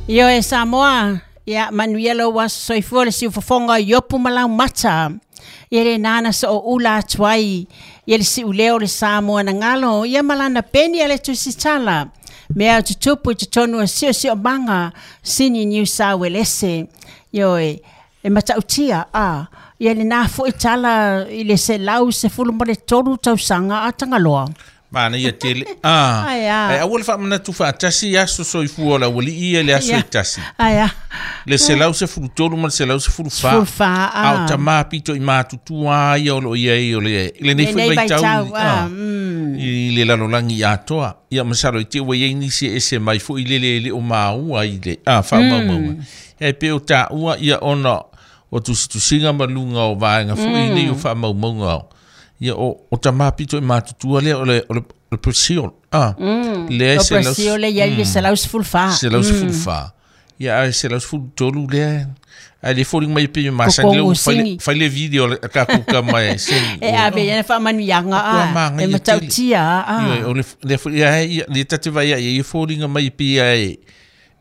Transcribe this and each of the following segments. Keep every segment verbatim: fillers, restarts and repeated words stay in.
Io e Samoa, ia manuia lou aso soifua le siufofoga o Iopu ma Laumata. Ia le nana so o ula atu ai, ia le siuleo o le Samoa na galo, ia malana peni a le tusitala. Mea o tutupu i totonu o siosiomaga, sini Niu Sauelese. Io e, e matautia, a, ia le nā foi tala i le selau sefulu ma le tolu tausaga a Tagaloa. Mana ia tele. Ah, Ai a. Ai aua le faamanatu faatasi aso soifua o le aualii ia le aso Ia. e tasi. Ai a. Le selau sefulu tolu ma le selau sefulu fa. Sefulu fa, A o a. tamā pito i matutua ia o lo o i ai o le i lenei foi Lenei vaitau vaitau, ah, a, mm. i le lalolagi atoa. Ia masalo i te ua i ai nisi e ese mai foi le le le o maua i le ah, faamaumauga. E pe o taua ia ona o tusitusiga ma luga o vaega foi nei o faamaumauga o. Ia o, o tamā pito i matutua lea o le, o le, o le Brazil. Ah, lea O selau- Brasil le iai le selau sefulu fa. selau sefulu fa. Ia a selau sefulu tolu lea. Ai le foliga mai pe masani le Kokogo ua fai le- sini. fai le video le ka kuka mai sini. E ave ia na faamanuiaga Ua a. E magaia tele. matautia a. Ioe, o le le foi ia ia le tate vai ia ia foliga mai pe ia e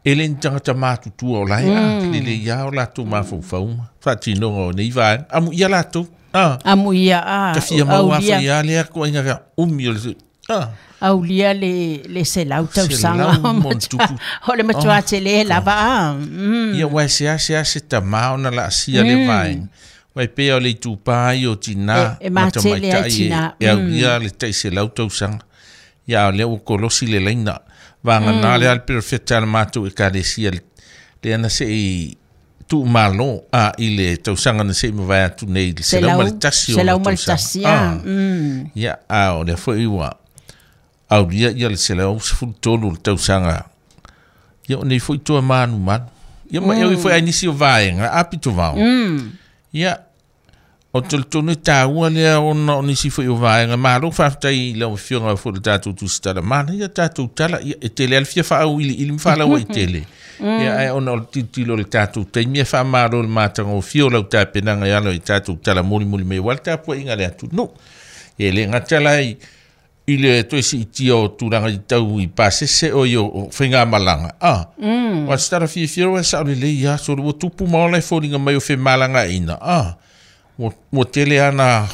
e le ni tagata matutua o lae a le le ia o latou mafaufauga faatinoga o nei vaega amu ia latou a Amu ia a. tafia mau Aulia, afa ia lea koaiga ka umi o le a aulia le, le selau tausaga. Selau mo le tupu. O le matua tele lava a. Mm. Ia ua se ase ase tamā ona laasia le vaega uai pea o le itupā ia o tinā E- e ma matele ai tamaitai e tinā. e aulia le ta'iselau tausaga ia o lea ua kolosi le laina vaganā le ale perofeta a le matou ekalesia le lea na se'i tu'umālō a i le tausaga na se'i mavae atu nei i le selau ma le tasi o Selau ona ma le tausaga. tasi a. Ah. Mm. Ia a o lea foi ua aulia ia le selau sefulu tolu o le tausaga ia o nei foi toa manumanu ia ma e foi ai nisi o vaega a pito vao Mm. ia o tolitonu e tāua lea ona o nisi foi o vaega malo faafetai i lau afioga foi le tatou tusitala mana ia tatou tala ia e tele a le fia faaauiliili ma faalaua i tele ia ae ona o le tilotilo o le tatou taimi e faamalo le matagofie o lau tapenaga e alo i tatou tala mulimuli mai aua le tapuaiga a le atunuu e le gata lai i le toe siitia o tulaga i tau i pasese o i o o faigamalaga a ua se tala fiafia ua sao lelei aso ua tupu ma ola e foliga mai o femalagaina a ua ua tele ana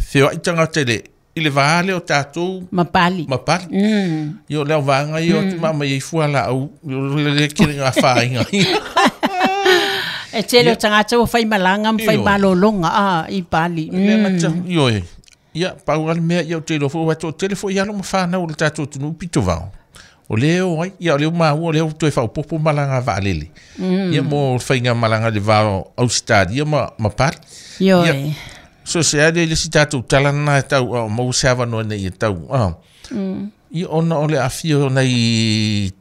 feoai tagata i le i le vā lea o tatou Mapali. ma pali Mm. ia o le auvaega ia o tumama ai fua laau o le kele afaina E tele o tagata ua faimalaga ma Ioe. faimalologa a i Pali. le Mm. gata ioe ia pau a le mea ia o te iloa foi ua toatele foi alo ma fanau o le tatou atunuu pito vao o lea o ai ia o lea ua maua o lea ua toe faaopopo malaga vaalele ia mo le faigamalaga i le va o Australia ma ma Pali Ioe. Ia. So se ale le si tatou tala lena e tau a o maua se avanoa ina ia tau a ia ona o le aafia o nai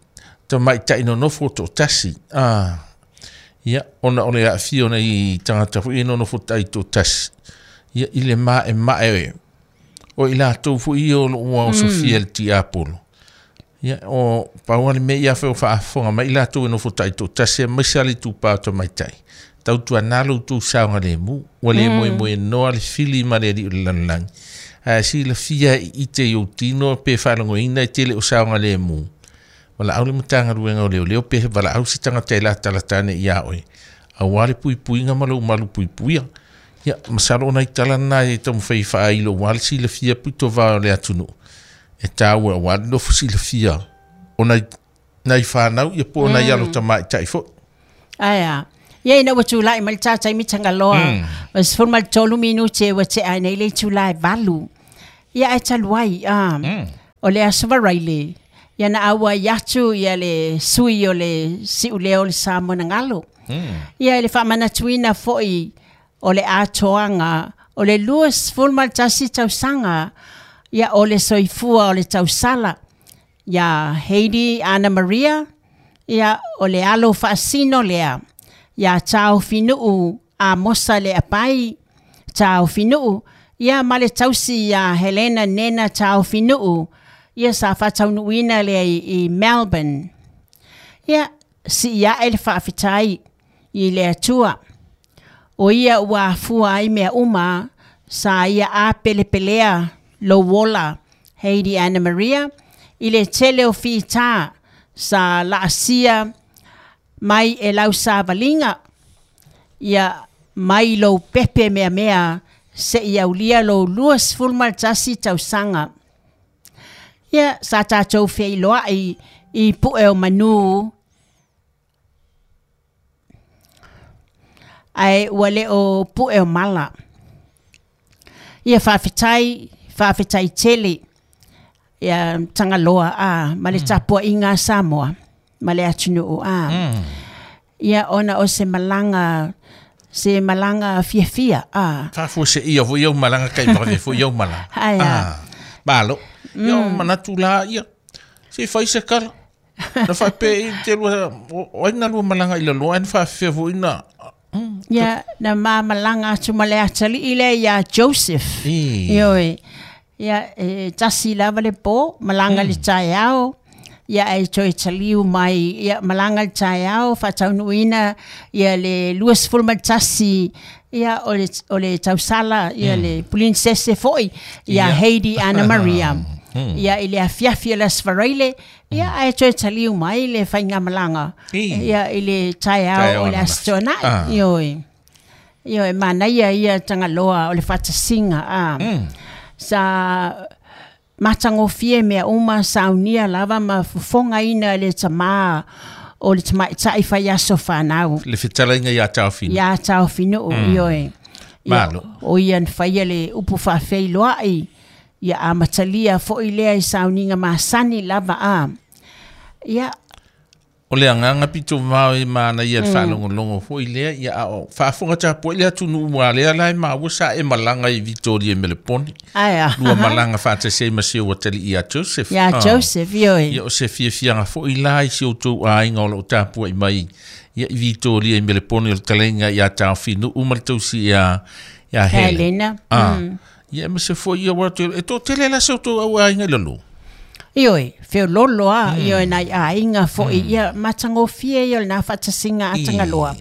tamaita'i nonofo o to'atasi a ia ona o le aafia o nai tagata foi ia nonofo ta'i to'atasi ia i le ma'ema'e o i latou foi ia o lo'o ua osofia i le tiapolo ia o pau a le mea ia fe o faafofoga mai i latou e nofo ta'i to'atasi aemaise a le itupā o tamaitai tautuanā lo outou saogalemu ua lē moemoenoa le fili ma le alii o le lalolagi ae silafia e ite i ou tino pe faalogoina e tele o saogalemu valaau le matagaluega o leoleo pe valaau se tagata e latalata ane iā oe auā le puipuiga ma lou malu puipuia ia masalo ona i tala lena e taumafai faailo uā le silafia pito va o le atunuu e tāua auā le nofo silafia o nai nai fanau ia po o nai alo tamaita'i foi Ai a. Ia ina ua tulai mai le tātai mi Tagaloa. O sefulu ma le tolu minuti e ua tea ai nei le itulā e valu. Ia ae talu ai. A. O le aso Varaile. Ia na auai atu ia le sui o le siuleo o le Samoa na galo. Ia i le faamanatuina foi o le atoaga o le lua sefulu ma le tasi tausaga ia o le soifua o le tausala ia Heidi Anna Maria ia o le alo faasino lea ia Taofinuu Amosa le apai Taofinuu ia ma le tausi ia Helena Nena Taofinuu ia sa faataunuuina lea i, i Melbourne. Ia si ia e le faafetai i le Atua. O ia ua afua ai mea uma sa ia apelepelea lou ola Heidi Anna Maria i le tele o fitā sa laasia mai e lau savalinga ia mai lou pepe mea mea se i aulia lou lua sefulu ma le tasi tausaga. Ia sa tatou feiloai i pu'e o manu ae ua le o pu'e o mala. Ia faafetai, faafetai tele ia Tagaloa a ma le tapua'iga a Samoa ma le atunu'u a. Ia ona o se malaga se malaga fiafia a. Faafuase'ia foi au malaga kai vave foi au malaga. Ae a. Malo. Ia o manatu la ia. Se fai se kala. Na faapea i te lua o ai na lua malaga i laloa ai na faafefea foi na. Ia na ma malaga atu ma le atali'i lea iā Joseph. Ioe. Ia e tasi lava le pō, malaga le taeao. Ia e toe taliu mai ia malaga le taeao faataunuuina ia le lua sefulu ma le tasi ia o le o le tausala ia le princess foi ia Heidi Anna Maria. Ia i le afiafi o le Aso Faraile ia ae toe taliu mai le faigamalaga ia i le taeao o le Aso Toonai. Ioe. Ioe manaia ia Tagaloa o le faatasiga a. Sa matagofie mea uma saunia lava ma fofogaina le tamā o le tamaita'i faiaso fanau. Le fetalaiga iā Taofinu. Iā Taofinu'u, ioe. Malo. O ia na faia le upu faafeiloa'i ia amatalia fo'i lea i sauniga masani lava a. Ia o le agaga pito vao e manaia le faalogologo foi lea ia a o faafoga tapuai le atunuu ua lea la e maua sa e malaga i Vitoria i Melepone. Ae a. Lua malaga faatasi ai ma si ou atalii ia Joseph. Ia Joseph, ioe. Ia o se fiafiaga foi la i si outou aiga o loo tapuai mai ia i Vitoria i Melepone o le talaiga ia Taofinu'u ma le tausi ia ia Helena. Ah. Ia ma se foi ia ua e toatele la se outou au aiga i lalo. Ioe, feololo a, ioe nai aiga foi, ia matagofie ia o lena faatasiga a Tagaloa.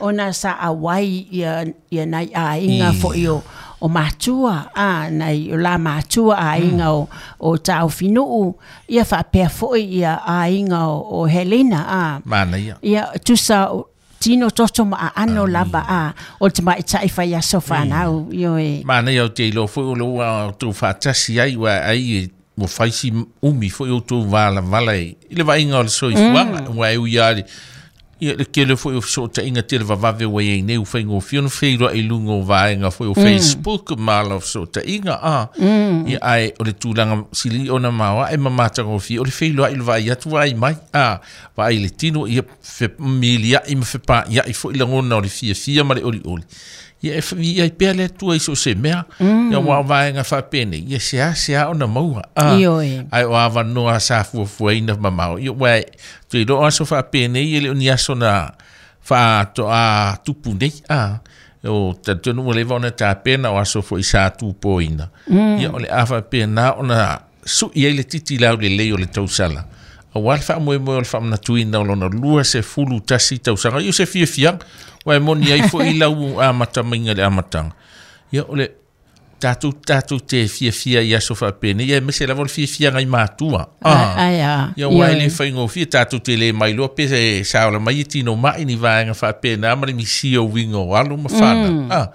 Ona sa auai ia, ia nai aiga foi o, o matua, a, nai o la matua aiga o, o Taofinu'u, ia faapea foi ia aiga o, o Helena a. Manaia. Ia tusa tino toto ma aano lava a o le tamaita'i faiaso fanau, ioe. Manaia o te iloa foi o le ua outou faatasi ai ua ai ua faisi umi foi outou valavala i le vaaiga o le soifuaga ua e ui lava ia le tele foi o fesootaiga tele vavave ua iai nei ua faigofie ona feiloai i luga o vaega foi o Facebook ma ala o fesootaiga a. Ia ae o le tulaga sili ona maoae ma matagofie o le feiloai le vaai atu vaai mai a vaai le tino ia femilia'i ma fepa'ia'i foi lagona o le fiafia ma le olioli. Ia e ia pea le Atua i so o se mea ia ua o vaega faapenei ia seasea ona maua a. Ae o avanoa sa fuafuaina mamao ia ua e tuiloa aso faapenei e le o ni aso na faatoa tupu nei a. O talitonu ua leva ona tapena o aso foi sa tupoina. Ia o le a faapena ona su'i ai le titi laulelei o le tausala. Auā le faamoemoe o le faamanatuina o lona lua sefulu tasi tausaga. Ia o se fiafiaga ua e moni ai foi lau amatamaiga le amataga. Ia o le tatou tatou te fiafia i aso faapenei ia aemaise lava o le fiafiaga i matua. Ae a. Ia ua e le faigofie tatou te le mailoa pe saola mai e tino ma'i ni vaega faapena ma le misia o uiga o alo ma fanau. Ah,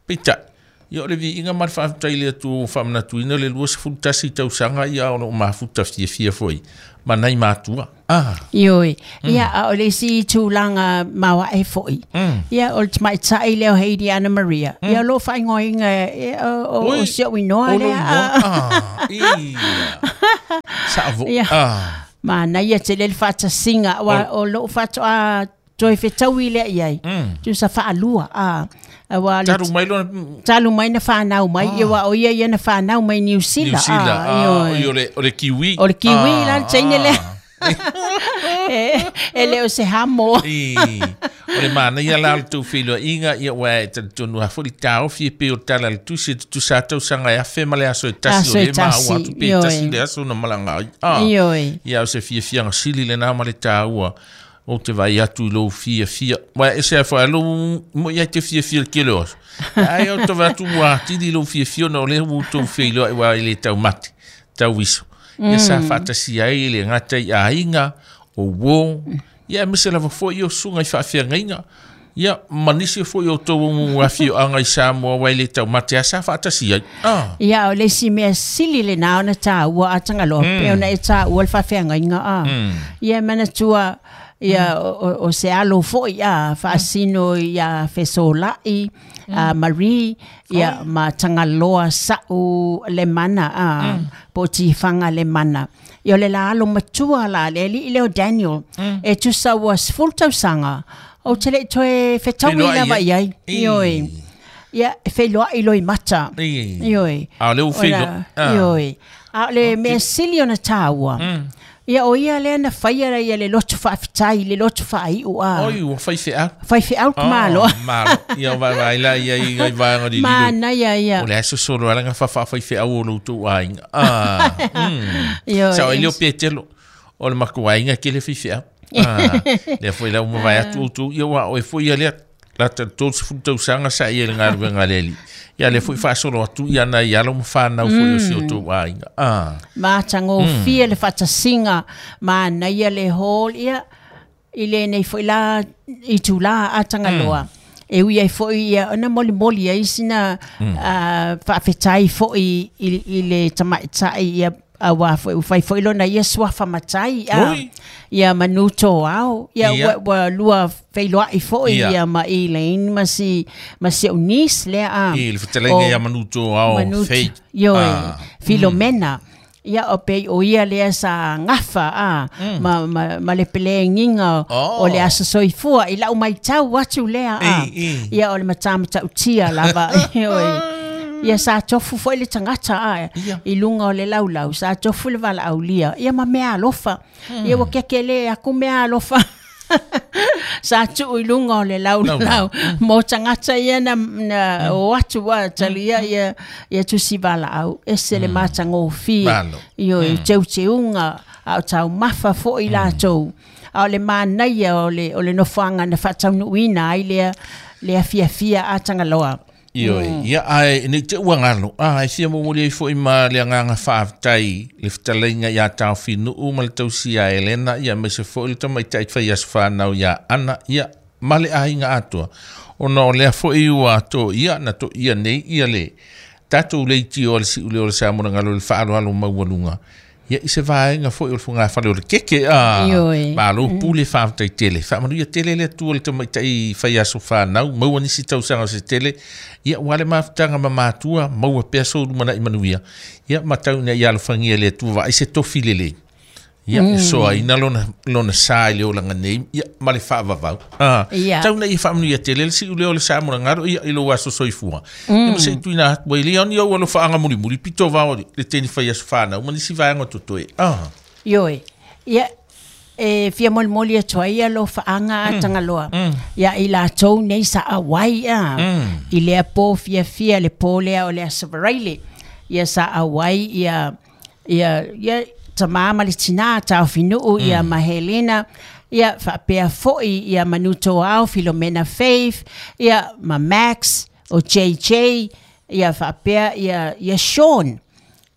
peitai ia o le viiga ma le faafetai i le Atua ua faamanatuina le lua sefulu tasi tausaga ia o loo mafuta fiafia foi ma nai matua. Ah. Ioe. Ia a o le isi tulaga maoae foi. Ia o le tamaita'i lea o Heidi Anna Maria. Ia o loo faaigoaina o, o si o'u inoa lea. Ah. Ia. Sa'avo. Ia. Ah. Manaia tele le faatasiga ua o loo faatoa toe fetaui lea iai. Tusa faalua a. Aua le Talu mai lona talu mai na whanau mai, ia wa o ia ia na whanau mai New Zealand. New Zealand, ah, o le, o le kiwi. O le kiwi la, teine lea. E, e le o se hamo. I, o le manaia la o le tou feiloaiga ia ua e talitonu lava foi le taofi e pei o le tala le tusi e tutusa tausaga e afe ma le aso e tasi o le maua atu pe tasi le aso na malaga ai. Ah, ia o se fiafiaga sili lenā ma le tāua o te vai atu i lou fiafia. Ua e se afa lou mo ia te fiafia le kele o aso. Ai o te vai atu ua atili lou fiafia ona o lea ua outou feiloai ua e le taumate, tauiso. Ia sa faatasi ai le gata i aiga o uō Ia aemaise lava fo'i o susuga i faafeagaiga ia ma nisi fo'i o outou afioaga i Samoa ua e lē taumate a sa faatasi ai a. Ia o le isi mea sili lenā ona tāua a Tagaloa pe ona e tāua le faafeagaiga a. Ia manatua ia o, o se alo fo'i a faasino ia Fesola'i a Marie ia ma Tagaloa sa'u le mana a po o tifaga le mana. Ia o le la alo matua la le ali'i lea o Daniel e tusa ua sefulu tausaga ou te le'i toe fetaui lava i ai. Ioe. Ia e feiloa'i loimata. Ioe. A o le ua feiloai. Ioe. A o le mea sili ona tāua. Ia o ia lea na faia ia le loto faafetai le loto faai'u a. Oi ua faifeau. Faifeau le malo. Malo. Ia vaivai la ia i ngai vaega lililo. Manaia ia. O le aso solo ala gafa faafaifeau o lo outou aiga. Ah. Ioe. Sao ai leo Petelo o le makuaiga kele faifeau. Ah. Lea foi la uma vai atu outou ia ua oe foi ia lea la tolu sefulu tausaga sa ia i le galuega a le alii. Ia lea foi faasolo atu ia nai alo ma fanau foi o si outou aiga. Ah. Matagofie le faatasiga manaia le hall ia i lenei foi la itulā a Tagaloa. E ui ai fo'i ia ona molimoli ai sina faafetai fo'i i le tamaita'i ia auā foi ua fai foi lona ia suafa matai a. Ia manu toao ia ua, ua lua feiloa'i fo'i ia ma Elaine ma si ma si o'u niece lea a. I le fetalaiga ia manu toao Faith. Ioe Filomena. Ia o pei o ia lea sa gafa a ma, ma, ma le pelegiga o le aso soifua i la'u maitau atu lea a. Ia o le matamata'utia lava. Ioe. Ia sa tofu fo'i le tagata a i luga o le laulau sa tofu le valaaulia ia ma mea alofa. Ia ua keke aku mea alofa. Sa tu'u i luga o le laulau mo tagata ia na, na o atu a talia ia ia tusi valaau ese le matagofie. Ioe teuteuga a o taumafa fo'i latou. A o le manaia o le o le nofoaga na faataunuuina ai lea lea fiafia a Tagaloa. Ioe, ia ae nei te ua galo a e fia momoli ai fo'i ma le agaga faafetai le fetalaiga iā Taofinu'u ma le tausia Elena ia aemaise fo'i le tamaita'i fai aso fanau iā Ana ia ma le aiga atoa ona o lea fo'i ua to'ia na to'ia nei ia le tatou leitio a le si'uleo o le Samoa le faaaloalo maualuga ia i se vaega foi o le fogafale o le keke a. Malo pule faafetai tele faamanuia tele le Atua le tamaita'i fai aso fanau maua nisi tausaga o se tele ia ua le mafutaga ma matua maua pea soulumana'i manuia ia matau ina ia alofagia le Atua vaai se tofi lelei ia e soaina lona lona sa i le olaga nei ia ma le faavavau. Ah, tau ina ia faamanuia tele le si'uleo o le Samoa ia i lou aso soifua. Ia ma se'i tuuina atu ai lea ona ou alofaaga mulimuli pito vao le teni fai aso fanau ma nisi vaega o totoe. Ah. Ioe. Ia e fia molimoli atu ai alofaaga a Tagaloa. Ia i latou nei sa auai a i lea po fiafia le po lea o le aso Varaile. Ia sa auai ia ia ia tamā ma le tinā Taofinu'u ia ma Helena ia faapea fo'i ia manu toao Filomena Faith ia ma Max o J J ia faapea ia ia Sean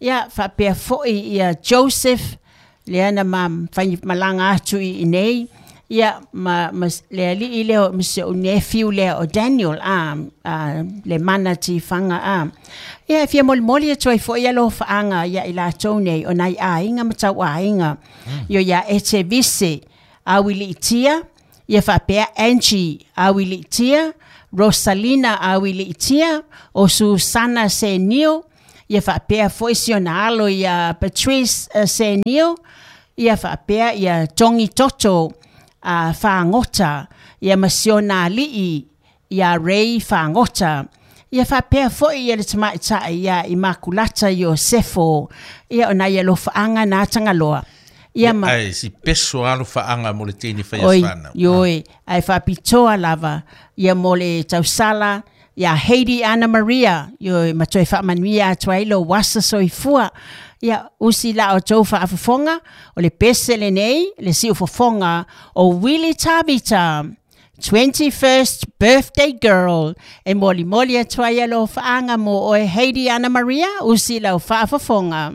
ia faapea fo'i ia Joseph lea na ma fai malaga atu i inei ia ma, ma le ali'i lea ma si o'u nephew lea o Daniel a, a le mana tifaga a. Ia e fia molimoli atu ai fo'i alofaaga ia i latou nei o nai aiga ma tauaiga. Io ia Ete Vise Auili'itia ia faapea Angie Auili'itia Rosalina Auili'itia o Susana Senio ia faapea fo'i si ona alo ia Patrice uh, Senio ia faapea ia Tongi Toto a Fagota ia ma si ona ali'i ia Ray Fagota ia faapea fo'i ia le tamaita'i ia Imakulata Iosefo ia o nai alofaaga na Tagaloa. Ia ma ai si peso alofaaga mo le teine fai aso fanau. Ioe ae faapitoa lava ia mo le tausala ia Heidi Anna Maria ioe ma toe faamanuia atu ai lou asa soifua. Ia usi la o tou faafofoga o le pese lenei le siufofoga o Willie Tavita twenty-first birthday girl e molimoli atu ai alofaaga mo oe Heidi Anna Maria usi lau faafofoga.